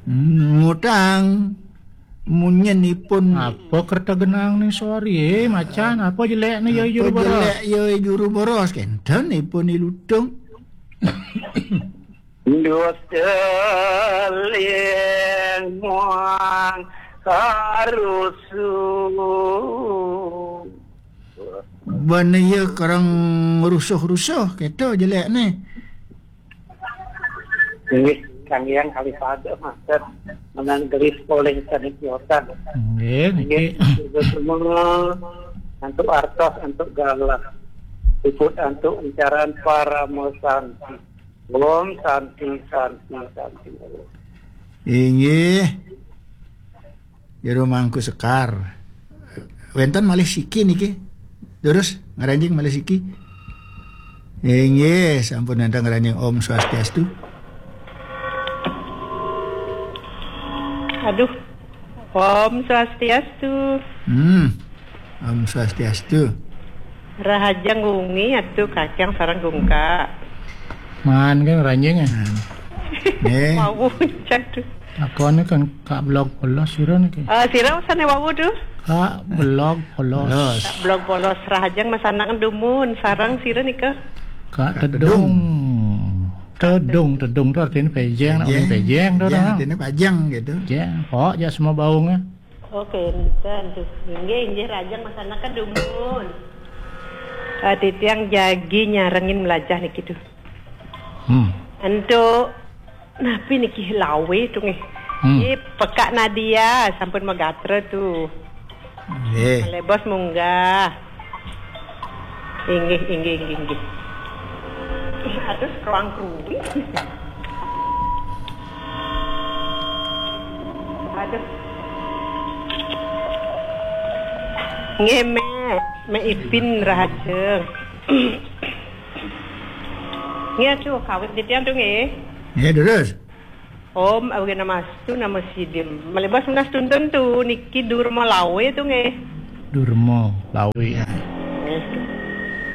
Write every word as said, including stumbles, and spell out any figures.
Ngutang. Munyin ipun. Apa kerta genang ni suari, eh, macan? Apa jelek ni, ya, juru boros? Jelek, ya, juru boros. Kenten ipun ilutung. Dusta ling muang karusuh. Bana iya kerang rusuh-rusuh, keto jelek ni. Inggih, Sang Hyang Kalipada matur menang gelis polih saning kiosan. Nggih, niki. Inggih, semua antuk artos, antuk galah. Puput antuk incaran parama santi. Om santi, santi, santi. Inggih. Jero Mangku Sekar. Wenten malih siki niki. Terus ngranjing malih siki. Inggih, sampun wenten ngranjing. Om Swastiastu. Aduh. Om Swastiastu. Hmm. Om Swastiastu. Rahajeng wengi atu Kakang sareng Gungka. Man kan ranjing, eh. Hmm. Nggih. Wau, jatuh. Apa ni kan Kak Blog Polos sira niki? Ah, sira sane wau tuh. Kak Blog Polos. Polos. Kak Blog Polos, rahajeng masanaken dumun sareng sira nika. Kak Tedung. Tedung, tedung tu artinya pejeng, nak muni pejeng tu. Pejeng, dah. Artinya pajang gitu. Pejeng. Pok, ya semua baungnya. Oke, enten tuh. Inggih, inggih, rahajeng masanaken dumun. Ah, titiang jagi nyarengin melajah niki tuh. Hmm. Entuk napi niki lawe tuh nggih? Hmm. Nggih, pekak Nadia sampun magatra tuh. Nggih. Malebos munggah. Inggih, inggih, inggih, inggih. Ih, aduh, keruang keruwi. Aduh. Nggih, Mek. Mek Ipin rahajeng. Nggih, aduh, kawit titiang tuh nggih. Nggih, terus. Om Awighnamastu Namo Siddham. Malebos menas tuntun tu niki Durma Lawe tu nggih. Durma Lawe.